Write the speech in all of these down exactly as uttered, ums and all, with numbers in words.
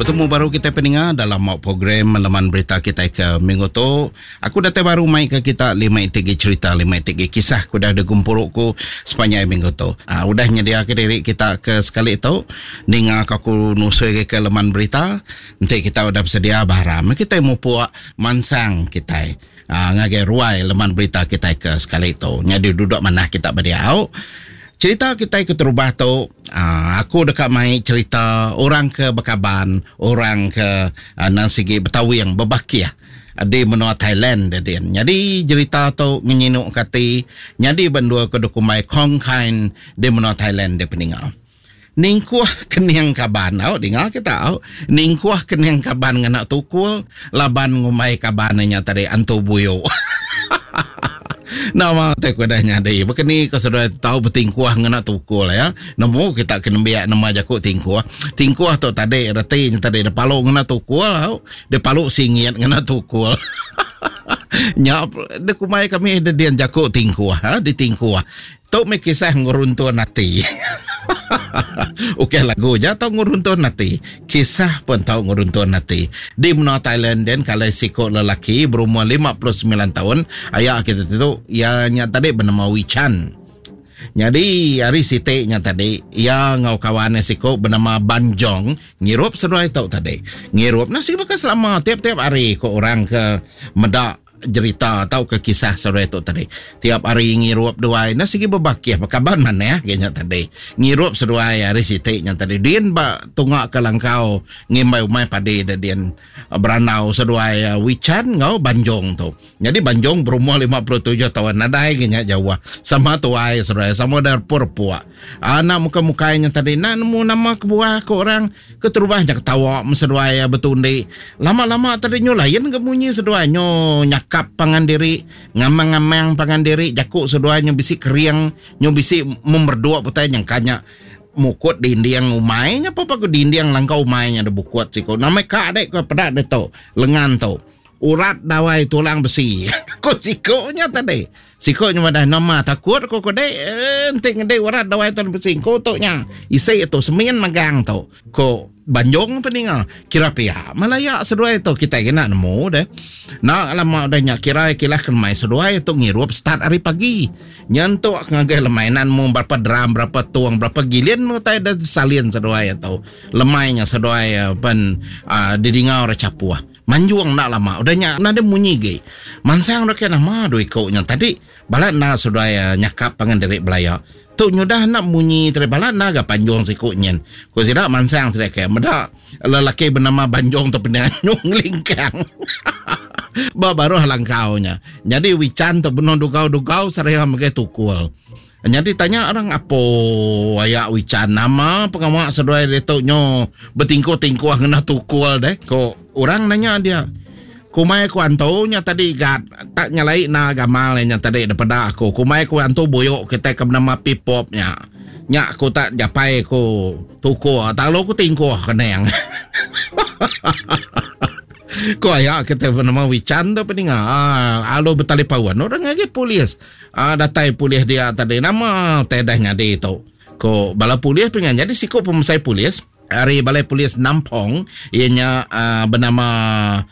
Betemu baru kita peninga dalam mau program leman berita kita ke minggu tu. Aku datai baru mai ke kita lima iti cerita, lima iti kisah ku dah digumpuru ku sepanjang minggu tu. Uh, udah nyedia ke diri kita ke sekali tu ninga aku nusui ke leman berita. Nanti kita udah bersedia baharam kita mupuk mansang kita. Uh, ngagai ruai leman berita kita ke sekali tu. Jadi duduk mana kita berdiau. Cerita kita ke terubah tu, aku dekat mai cerita orang ke bekaban, orang ke nang sigi Betawi bebakiah di menua Thailand dia. Jadi cerita tu ngenyinuk kati, jadi bendua ke dokumai Khon Kaen di menua Thailand dia peninga. Ningkuh kening kaban, au dengar kita au. Ningkuh kening kaban ngena tukul, laban ngumai kaban nya tadi antu buyu. Nama te ku dah nyadi. Bekeni ke saudara tahu bertingkuh ngena tukul ya. Nemu kita kena biak nama jaku tingkuh. Tingkuh tu tadi reti nya tadi dia palu ngena tukul au. Dia palu singit ngena tukul. Nya dia kumai kami dia dian jaku tingkuh ha, ditingkuh. Tu me kisah nguruntun hati. Okey lagu je tau nguruntun hati. Kisah pun tau nguruntun hati. Di menua Thailand dan kalau siko lelaki berumur lima puluh sembilan tahun, ayah kita tu ia nya tadi bernama Wichan. Jadi hari siti nya tadi ia ngau kawan siko bernama Banjong ngirup seduai tau tadi. Ngirup nasi bakal selama tiap-tiap hari ko orang ke medak cerita atau ke kisah saudara itu tadi. Tiap hari ngirup duai na sigi berbakiah berkaban mana ya nya tadi. Ngirup seduai hari siti nya tadi. Din ba tungak ke langkau ngimbai umai padi da din beranau seduai Wichan ngau Banjong tu. Jadi Banjong berumur lima puluh tujuh tahun nadai nya jauh. Sama tuai seduai sama dar purpuak. Anak muka-muka nya tadi nak nemu nama kebuah ke orang keterubah nya ketawa seduai betundi. Lama-lama tadi nyo lain ke bunyi seduai nyo nyakap pangan diri, ngamang-ngamang pangan diri, jakuk seduai nyo bisi kering, nyo bisi memberdua putai nyangkanya mukut dinding umai nya apa ke dinding langkau umai nya ada bukut siko. Nama kak dek ke pedak de tu, lengan tu. Urat dawai tulang besi. Ko siko nya tadi. Siko nya madah nama takut ko ko dek enti ngede urat dawai tulang besi ko tu nya. Isi tu semin magang tu. Ko Banjong peninga kira pihak Malaya seduai tu kita kena nemu deh. Nak lama dah nya kira kilah kemai seduai tu ngirup start hari pagi. Nyentuk ngagai lemainan mu berapa drum berapa tuang berapa gilin mu tai dah salin seduai tu. Lemainya seduai pen uh, didinga orang capuah. Manjuang nak lama udah nya nada munyi ge. Mansang dah kena nama dua ikoknya tadi balat na seduai nyakap pangan diri belaya. Tu nyudah nak munyi tadi balat na ga panjong sikuk nyen. Ko sida mansang sida ke meda lelaki bernama Banjong tu penanyung lingkang. Ba baru langkaunya. Jadi Wichan tu benon dugau-dugau saraya megai tukul. Jadi tanya orang apa ayak Wichan nama pengawak seduai dia tu nyo bertingkuh-tingkuh ngena tukul deh. Ko orang nanya dia. Kumai ku antu nya tadi gat tak nyalai na gamal nya tadi daripada aku. Kumai ku antu buyuk kita ke bernama Pipop nya. Nya aku tak japai ku tuku tak lu ku tingkuh keneng. Ko ayak kita bernama Wichan tu peninga. Ah, alu bertali pawan orang ngaji polis. Ah, datai polis dia tadi nama tedah nyadi tu. Ko bala polis pengen jadi siko pemusai polis. Hari balai polis Nampong ianya uh, bernama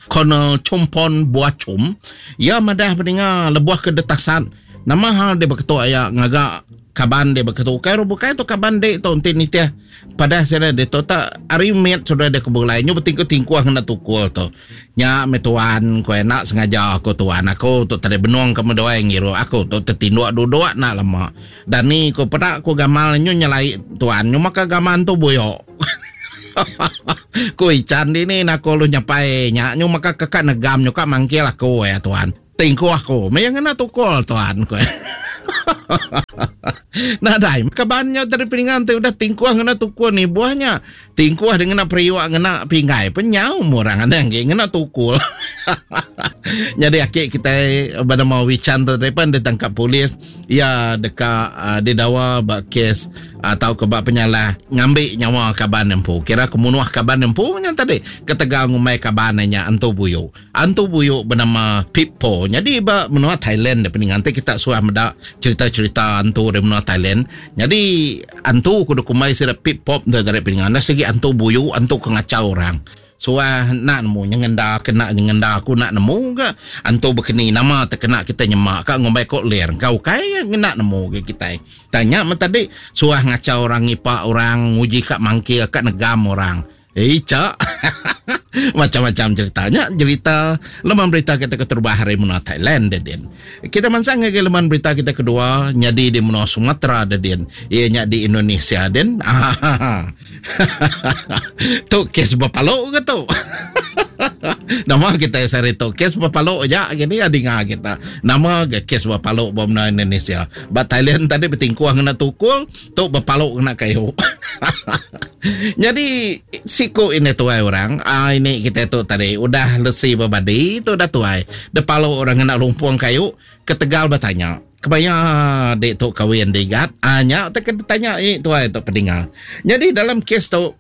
Colonel Chumpon Buachum. Ia madah mendengar lebuah kedetasan. Nama hal dia berketua ya ngagak kaban dia berketua. Kai bukai tu kaban dia tu enti nitih pada saya dia tu tak hari met sudah dia kebulai nyu bertingkuh-tingkuh ngena tukul tu. Nya me tuan ko nak sengaja aku tuan aku tu tadi benung ke medoai ngiru aku tu tertinduk duduk nak lama. Dan ni ko pedak ko gamal nyu nyelai tuan nyu maka gaman tu buyok. Ko ican ni nak lu nyapai nya nyu maka kekak negam nyu kak mangkil aku ya tuan. Tingkuh aku, mayang ngena tukul tuan ko. Nah dai kabannya dari piringan tu udah tingkuh ngena tukul ni buahnya. Tingkuh dengan periwak ngena pinggai penyau orang ada yang ngena tukul. Jadi akik kita bernama Wichan tu depan ditangkap polis ia dekat uh, didawa bak kes atau ke bak penyalah ngambil nyawa kaban empu. Kira kemunuh kaban empu macam tadi ketegal ngumai kaban nya antu buyu. Antu buyu bernama Pipo. Jadi bak menua Thailand depan nanti kita suah medak cerita-cerita antu dari menua Thailand. Jadi antu kudu kumai sira Pipop dari peningan. Segi antu buyu, antu kengacau orang. Suah nak nemu nyengenda kena nyengenda aku nak nemu ga antu bekeni nama terkena kita nyemak ka ngumbai kok lir kau kai ngena nemu ke kita. Tanya men tadi suah ngacau orang ngipak orang nguji ka mangkir ka negam orang. Eh cak. Macam-macam ceritanya, cerita leman berita kita keterubah hari menua Thailand dedin. Kita mansang ke leman berita kita kedua nyadi di menua Sumatera dedin. Ia nya di Indonesia den. Tu kes berpaluk ke tu? Nama kita sehari tu kes berpaluk aja gini adinga kita. Nama ke kes berpaluk bom Indonesia. Ba Thailand tadi bertingkuh kena tukul, tu berpaluk kena kayu. Jadi siku ini tuai orang, ah ini kita tu tadi udah lesi berbadi tu dah tuai. Depalo orang kena lumpung kayu ketegal bertanya. Kebaya dek tu kahwin digat, ah nya tak kena tanya ini tuai tu pendengar. Jadi dalam kes tu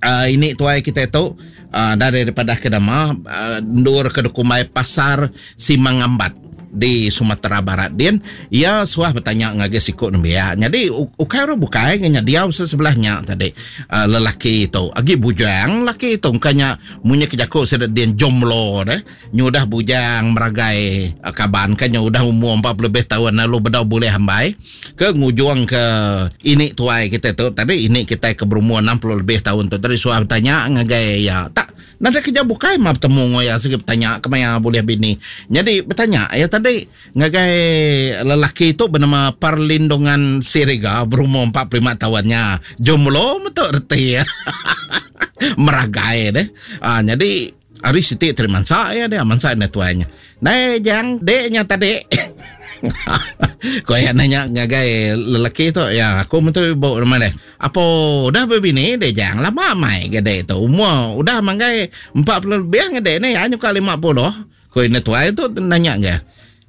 uh, ini tuai kita tu uh, dari daripada kedama uh, ndur ke kumai pasar Simangambat di Sumatera Barat din, ia suah bertanya ngagai sikut nembiak. Jadi ukai orang bukai ngenya dia sebelahnya tadi uh, lelaki itu agi bujang lelaki itu kanya munyi kejakuk sedat din jomblo deh. Nyudah bujang meragai uh, kaban kanya udah umur empat puluh lebih tahun lalu bedau boleh hambai ke ngujuang ke ini tuai kita tu tadi ini kita ke berumur enam puluh lebih tahun tu tadi suah bertanya ngagai ya tak nada kerja bukai mah bertemu ngoya segi bertanya kemaya boleh bini. Jadi bertanya ya tadi ngagai lelaki itu bernama Perlindungan Siriga berumur empat puluh lima tahunnya. Jomblo betul reti ya. Meragai deh. Ah jadi hari siti terima mansa ya dia mansa ne tuanya. Nai jang deknya tadi. Kau yang nanya ngagai lelaki tu ya aku betul ibu rumah deh. Apa udah berbini deh jang lama mai gede tu umur udah manggai empat puluh lebih ngede ni hanya kali lima puluh. Kau ini tua itu nanya ke?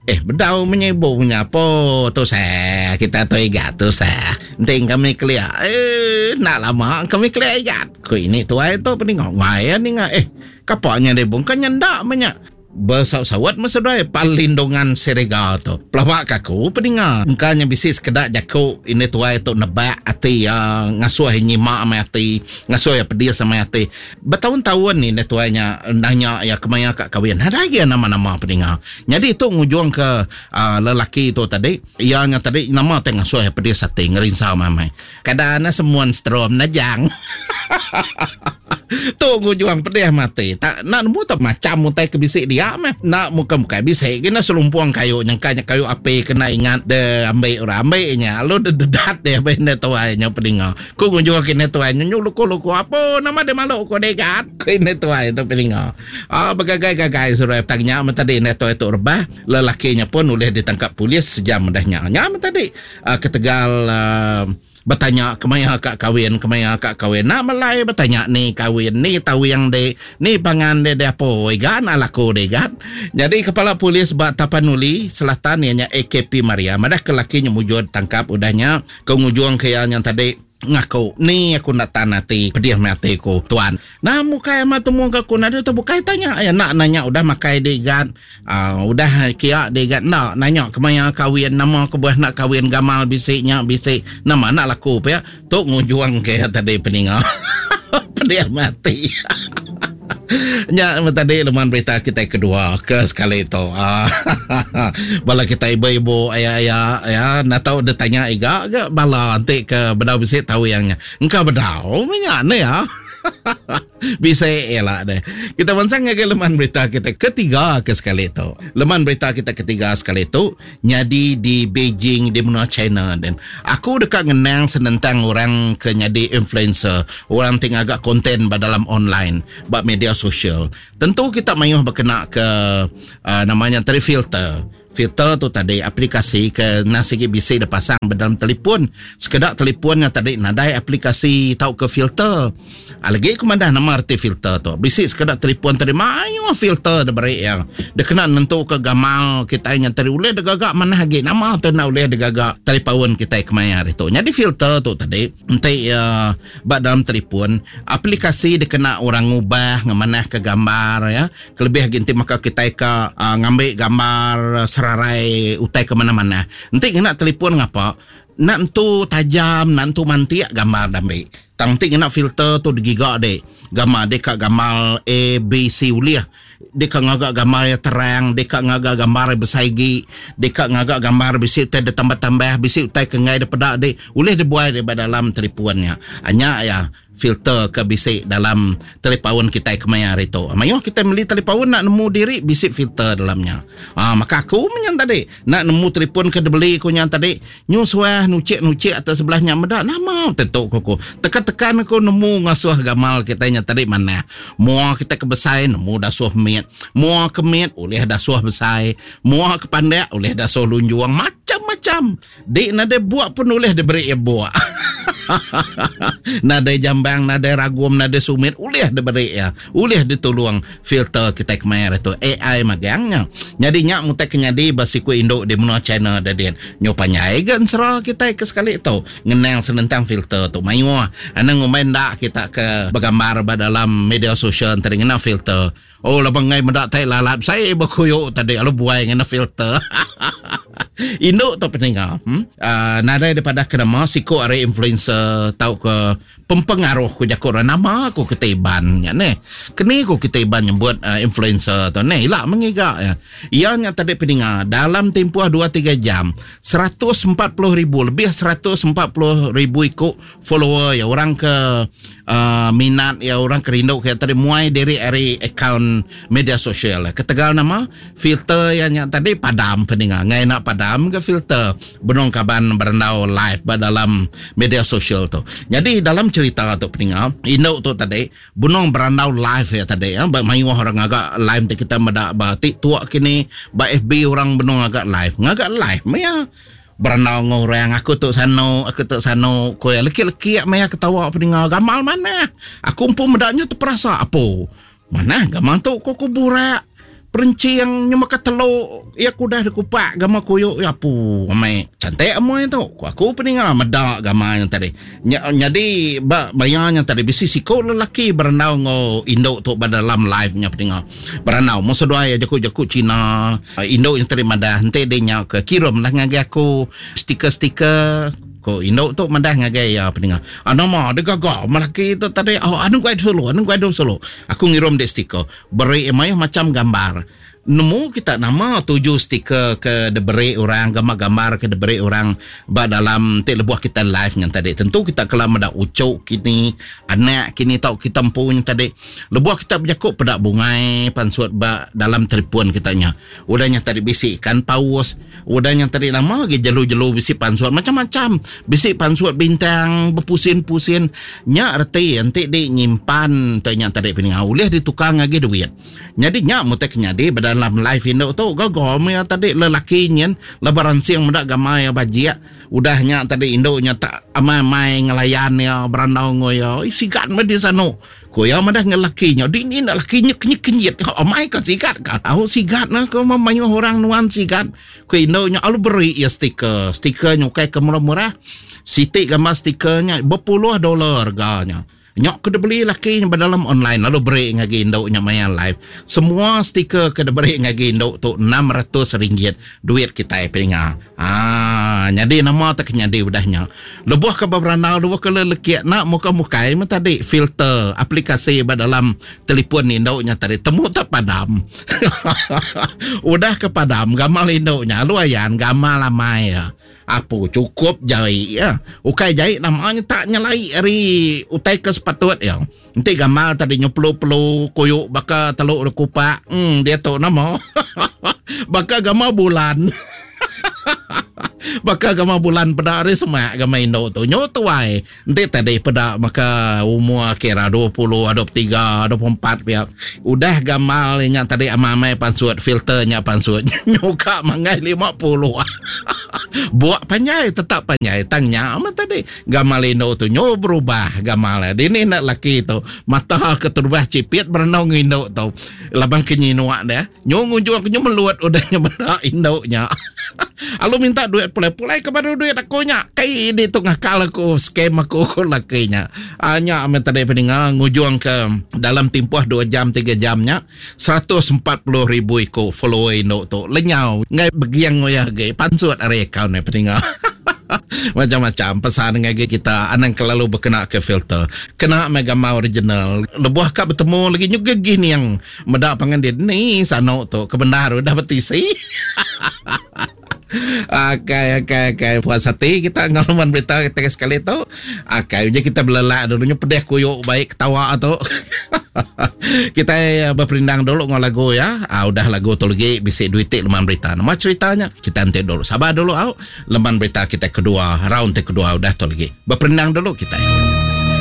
Eh bedau menyibu punya apa tu saya kita tu igat tu saya. Penting kami kelia. Eh nak lama kami kelia igat. Kau ini tua itu peningok ngaya ni ngah. Eh kapaknya dia bungkan nyendak banyak. Bersawat-sawat masa doi Perlindungan Siriga tu. Pelawak kaku peninga. Engkanya bisi sekedak jaku ini tuai tu nebak ati ya ngasuh nyimak sama ati, ngasuh ya pedih sama ati. Bertahun-tahun ni ini tuainya nanya ya kemaya kak kahwin. Ada lagi nama-nama peninga. Jadi itu ngujung ke uh, lelaki tu tadi, ianya tadi nama teh ngasuh ya pedih ati ngerinsau mamai. Kadana semuan strom najang. Tu ngujuang pedih mati. Tak nak nemu tak macam utai kebisik dia meh. Nak muka-muka bisik kena selumpuang kayu nyangkanya kayu api kena ingat de ambil orang ambilnya. Lalu de dedat dia benda tuainya peninga. Ku ngujuang kena tuainya nyuluku-luku apa nama dia malu ku degat. Kena tuai tu peninga. Ah bergagai-gagai suruh tanya tadi ne tuai tu rebah. Lelakinya pun boleh ditangkap polis sejam dahnya. Nya tadi uh, ketegal uh, bertanya kemaya kak kahwin, kemaya kak kahwin. Nak melai bertanya ni kahwin, ni tahu yang de, ni pangan de de apa, igan alaku de igan. Jadi kepala polis bak Tapanuli Selatan ianya A K P Maria. Madah kelakinya mujur tangkap udahnya ke ngujuang ke yang tadi ngaku ni aku nak tan hati pedih mati ku tuan. Nah muka yang temu ke aku nada tu bukai tanya ya nak nanya udah makai digat uh, udah kia digat nak nanya kemaya kahwin nama aku buah nak kahwin gamal bisiknya bisik nama nak laku ya tu ngujuang ke tadi peninga. Pedih mati. Nya tadi leman berita kita kedua ke sekali tu. Bala kita ibu-ibu ayah-ayah ya nak tahu dia tanya iga ke bala nanti ke bedau bisik tahu yangnya. Engkau bedau minyak ni ya. Bisa elak deh. Kita bancang ke leman berita kita ketiga ke sekali tu. Leman berita kita ketiga sekali tu nyadi di Beijing di benua China dan aku dekat ngenang senentang orang ke nyadi influencer, orang ting agak konten dalam online, bab media sosial. Tentu kita mayuh berkena ke uh, namanya tadi filter. Filter tu tadi aplikasi ke nasi bisi dah pasang dalam telefon. Sekedak telefonnya tadi nadai aplikasi tau ke filter. Lagi aku mandah nama arti filter tu. Bisi sekedak telefon tadi mayuh filter dah beri yang. Dia kena nentu ke gamal kita yang tadi boleh dia gagak mana lagi. Nama tu nak boleh dia gagak telefon kita kemaya hari tu. Jadi filter tu tadi nanti uh, bak dalam telefon aplikasi dia kena orang ngubah ngemanah ke gambar ya. Kelebih lagi nanti maka kita ke uh, ngambil gambar serarai utai ke mana-mana. Nanti kena telefon ngapa? Nak entu tajam, nak entu mantik gambar dambi. Tang ti ngena filter tu digiga dek. Gambar dek ka gamal A, B, C ulih. Dek ka ngaga gambar yang terang, dek ka ngaga gambar yang besai gi, dek ka ngaga gambar bisi utai ditambah-tambah, bisi utai ke ngai dipeda dek, ulih dibuai dek ba dalam teleponnya. Anya ya filter ke bisi dalam telepaun kitai kemaya hari tu. Mayuh kitai meli telepaun nak nemu diri bisi filter dalamnya. Ah, maka aku menyan tadi nak nemu telefon ke dibeli ku nyan tadi nyusuah nucik-nucik atas sebelahnya meda nama tentu ku aku. Tekan-tekan aku nemu ngasuh gamal kitai nya tadi manah. Mua kita ke besai nemu dasuh mit. Mua ke mit ulih dasuh besai. Mua ke pandak ulih dasuh lunjung. Macam-macam. Dik nadai buak pun ulih diberi ia buak. Nadai jambang, nadai ragum, nadai sumit ulih diberi ia. Ulih ditulung filter kita kemaya tu A I magangnya. Jadi nyak mutai kenyadi basiku induk di menua China dadin. Nyo panjai ga ensera kita ke sekali tu ngenang senentang filter tu mayuh. Anang ngumbai ndak kita ke bergambar ba dalam media sosial tadi ngena filter. Oh labang ngai meda tai lalat saya berkuyuk tadi lalu buai ngena filter. Induk tu peninga. Hmm? Uh, nadai daripada kenama siku ari influencer tau ke pempengaruh ku jaku orang nama aku kita iban nya neh. Keni ku kita iban nyebut uh, influencer tu neh ilak mengiga ya. Ia nya tadi peninga dalam tempoh dua tiga jam seratus empat puluh ribu lebih seratus empat puluh ribu ikut follower ya orang ke uh, minat ya orang kerindu ke tadi muai diri ari akaun media sosial. Ketegal nama filter yang nya tadi padam peninga. Ngai nak padam ke filter benung kaban berandau live ba dalam media sosial tu. Jadi dalam cerita tu peninga induk tu tadi benung berandau live ya tadi ya ba mayuh orang agak live ti kita meda ba TikTok kini ba F B orang benung agak live. Ngagak live maya berandau dengan orang aku tu sano aku tu sano ko ya leki-leki maya ketawa peninga gamal mana aku pun medaknya terperasa apa mana gamal tu ko kuburak perencing nyema ke teluk ya aku dah dikupak gama kuyuk ya apu amai cantik amai tu ku aku peninga meda gama yang tadi Nya, jadi ba bayanya tadi bisi siko lelaki berandau ngau induk tu ba dalam live nya peninga berandau mo seduai ya jaku-jaku Cina induk yang tadi madah ente dia nya ke kirim lah ngagai aku stiker-stiker ko induk tu madah ngagai ya peninga ah, nama dia gagah lelaki tu tadi oh anu guai solo anu guai solo aku ngirim dia stiker beri mayuh macam gambar nemu kita nama tuju stiker ke diberi orang gambar-gambar ke diberi orang ba dalam tik lebuh kita live yang tadi tentu kita kalau meda ucuk kini anak kini tau kita empu yang tadi lebuh kita berjakuk pedak bungai pansut ba dalam telefon kitanya udahnya tadi bisi ikan paus udahnya tadi nama lagi jelu-jelu bisi pansut macam-macam bisi pansut bintang berpusin-pusin nya reti enti di nyimpan tu nya tadi peninga ulih ditukar lagi duit jadi nya mutai kenyadi dalam live induk tu gogo maya tadi lelaki nyen lebaran siang meda gamai bajik udahnya tadi induknya tak amai-amai ngelayan ya berandau ngoyo sigat meh di sano ko ya madah ngelakinya di ni nak lakinya kenyit-kenyit amai ka sigat ka au sigat nah ko mayuh orang nuan sigat ko induknya alu beri ya stiker stiker nyukai ke murah-murah sitik gambar stikernya berpuluh dolar harganya. Nyok ke beli laki nya dalam online lalu beri ngagi induk nya maya live. Semua stiker ke diberi ngagi induk tu enam ratus ringgit duit kita peninga. Ah, jadi nama tak nyadi udahnya. Lebuh ke berandau lebuh ke leleki nak muka-mukai mah tadi filter aplikasi ba dalam telefon induk nya tadi temu tak padam. Udah ke padam gamal induk nya lu ayan gamal amai ya. Apa cukup jai ya. Ukai jai namanya tak nyelai ari utai ke sepatut ya. Nanti gamal tadi nyepelu-pelu kuyuk baka teluk kupak. Hmm dia tu nama. Baka gamal bulan. Baka gamal bulan pada hari semak gamal induk tu. Nyo tuai. Nanti tadi pada maka umur kira dua puluh, dua puluh tiga, dua puluh empat pihak. Udah gamal nya tadi amai-amai pansut filternya pansut. Nyuka mangai lima puluh. Buak panjai tetap panjai tangnya amat tadi gamal induk tu nyo berubah gamal. Dini nak laki tu mata keterubah cipit berenang induk tu. Labang kenyinuak dia. Nyo ngunjung nyo meluat udah nyo benda induknya. Alu minta duit pulai-pulai kepada duit aku nya. Kai di tu ngakal aku scam aku ko lakinya. Anya amat tadi peninga ngujung ke dalam tempoh dua jam tiga jamnya seratus empat puluh ribu iko follower induk tu lenyau ngai begiang ngoyah ge pansut ari akaun ni peninga. Macam-macam pesan ngagai kita anang kelalu bekena ke filter. Kena meh gambar original. Lebuh ka betemu lagi nyuga gining meda pangan dia ni sano tu ke bendar udah betisi. Akai akai akai puas hati kita enggau leman berita kita ke sekali tu. Akai uji kita belelak dulu nyu pedih kuyuk baik ketawa tu. Kita eh, berperindang dulu enggau lagu ya. Ah, udah lagu tu lagi bisi duit ti leman berita. Nama ceritanya? Kita nanti dulu. Sabar dulu au. Leman berita kita kedua, round ti kedua udah tu lagi. Berperindang dulu kita.